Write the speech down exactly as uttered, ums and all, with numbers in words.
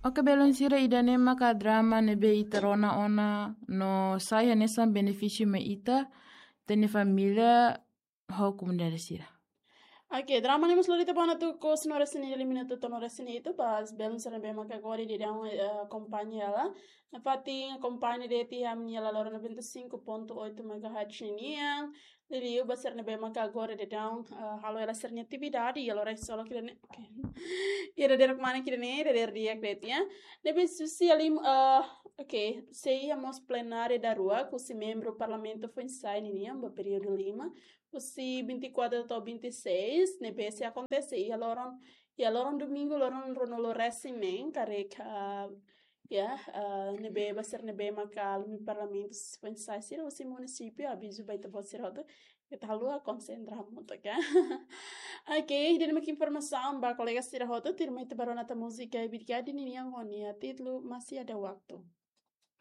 Oke, belun sira, ida-ne'e maka drama ne'ebé ita rona ona no sai hanesan benefísiu mai ita, ita-nia família ho komunidade sira. Oke, drama ne'e mós lori ita ba ona tuku, se no resin ida minutu to'o no resin hitu, ba belun sira ne'ebé maka agora daudaun, eh, akompaña hela. Nafatin akompaña de'it iha ami-nia La Lora noventa e cinco ponto oito megahertz nian. Liuliu ba sira ne'ebé maka agora daudaun, eh, halo hela sira-nia atividade iha loron isolasi ida-ne'e. Oke. Iha dadeer mana ida-ne'e, dadeer di'ak de'it, ya. Ne'ebé husi iha lima, eh, oke, sei iha mós plenária daruak, husi membru Parlamentu foin-sa'e ninian, ba períodu lima, husi vinte e quatro to'o vinte e seis, ne'ebé sei akontese iha loron, iha loron domingu, loron ruanulu-resin-neen, karik, ah, ya, ah, ne'ebé ba sira ne'ebé maka alin Parlamentu foin-sa'e sira husi munisípiu, avizu ba ita-boot sira hotu, ita haluha konsentra hamutuk, oke? Oke, ida-ne'e mak informasaun ba kolega sira hotu, tuirmai ita bá rona tan múzika, Ibirga de Ninian ho nia títulu Masih Ada Waktu.